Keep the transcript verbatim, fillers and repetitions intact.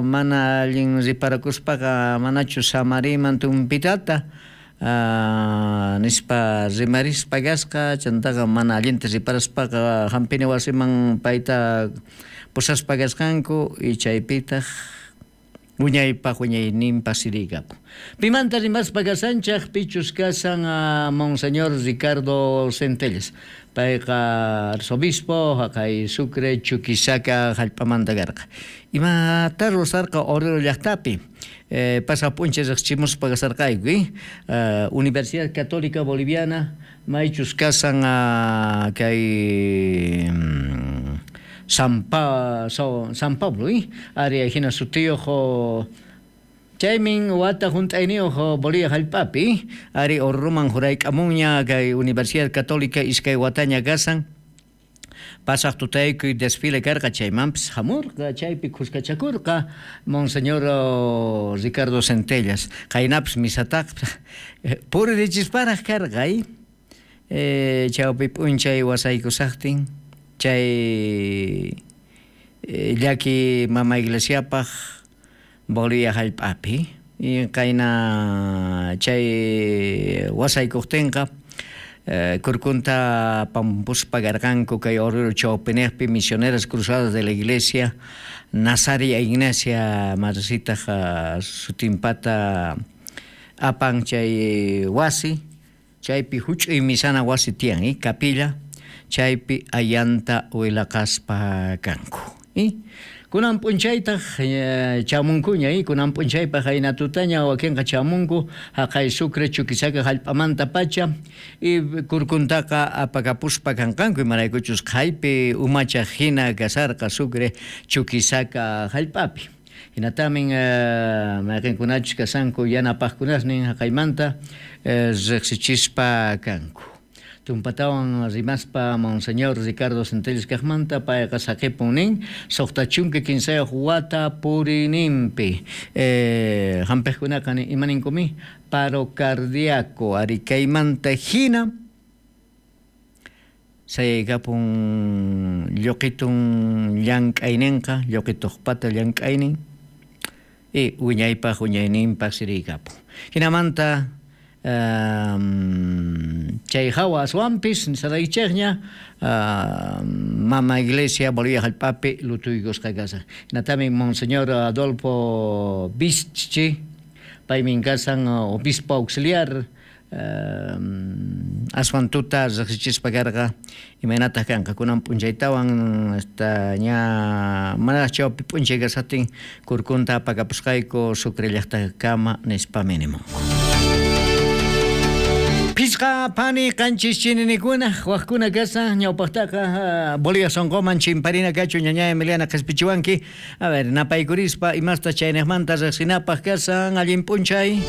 Mana allin riparakuspaqa manachu samariman tumpitata nispa rimarispa kasqa. Chantaqa mana allinta riparaspaqa hampina wasiman payta pusaspa kasqanku y chaypitaq wiñaypaq wiñayninpaq siriykapu. Pimanta rimaspa kasanchaq pichus kasan Monseñor Ricardo Centelles. Payqa arzobispo haqay Sucre Chuquisaca hallp'amanta karqa. Imata rurasarqa Oruro llaqtapi? Eh, pasaq p'unchay riqchimuspa kasarqayku, eh? Uh, Universidad Católica Boliviana maychus kasan uh, kay San, pa, so, San Pablo, eh? Ari hina sutiyuq chaymin wata hunt'ayniyuq Bolivia hallp'api, ari Oruruman jurayk'amunña kay Universidad Católica iskay wataña kasan. Pasaq tutaykuy desfile karqa chaymanpis hamurqa chaypi khuskachakurqa Monseñor Ricardo Centellas. Qaynapis misataq puririchisparaq karqa, eh, chawpi p'unchay wasaykusaqtin chay llaki mama iglesiapaq Bolivia hallp'api y qayna chay wasaykuqtinqa kurkunta pampuspa karqanku kay Oruro chawpinejpi Misioneras Cruzadas de la Iglesia Nazaria Ignacia madrecitaq sutinpata apan chay wasi chaypi huch'uy misana wasi tiyan, eh, capilla chaypi ayanta wilaqaspa kanku. Eh? Kunan p'unchaytaq chamunkuña, eh? Kunan p'unchaypaq qayna tutaña wakinqa chamunku haqay Sucre Chuquisaca hallp'amanta pacha y kurkuntaqa apakapuspa kanqanku imaraykuchus qhaypi umachaq hina kasarqa Sucre Chuquisaca hallp'api. Hinatamin mayqinkunachus kasanku yanapaqkunasnin haqaymanta riqsichispa kanku. Tumpatawan rimaspa Monseñor Ricardo Centelles kaqmanta payqa saqipun nin suqta chunka kinsayuq wata purininpi. Eh, hampiqkunaqa imaninkumi paro cardíaco ari kaymanta hina sayaykapun lluqitun llank'ayninqa lluqituqpata llank'aynin y wiñaypaq wiñayninpaq siriykapun. Hinamanta Um, chay hawa aswanpis nisaraychikña uh, mama iglesia Bolivia hallp'api lutuykusqa kasan. Hinatami Monseñor Adolfo Bischi paymin kasan obispo auxiliar um, aswan tuta riqsichispa karqa imaynataq kanqa kunan p'unchaytawan hasta ña manaraq chawpi p'unchay kasatin kurkunta apakapusqayku Sucre llaqtakama nispa minimunku. Pisqa pani qanchis chininikuna waqkuna kasan ñawpaqtaqa Bolivia sonqoman chimparina kachu ñaña Emiliana qhispichiwanki. A ver, napaykurispa imasta chayniqmanta riqsinapaq kasan allin p'unchay.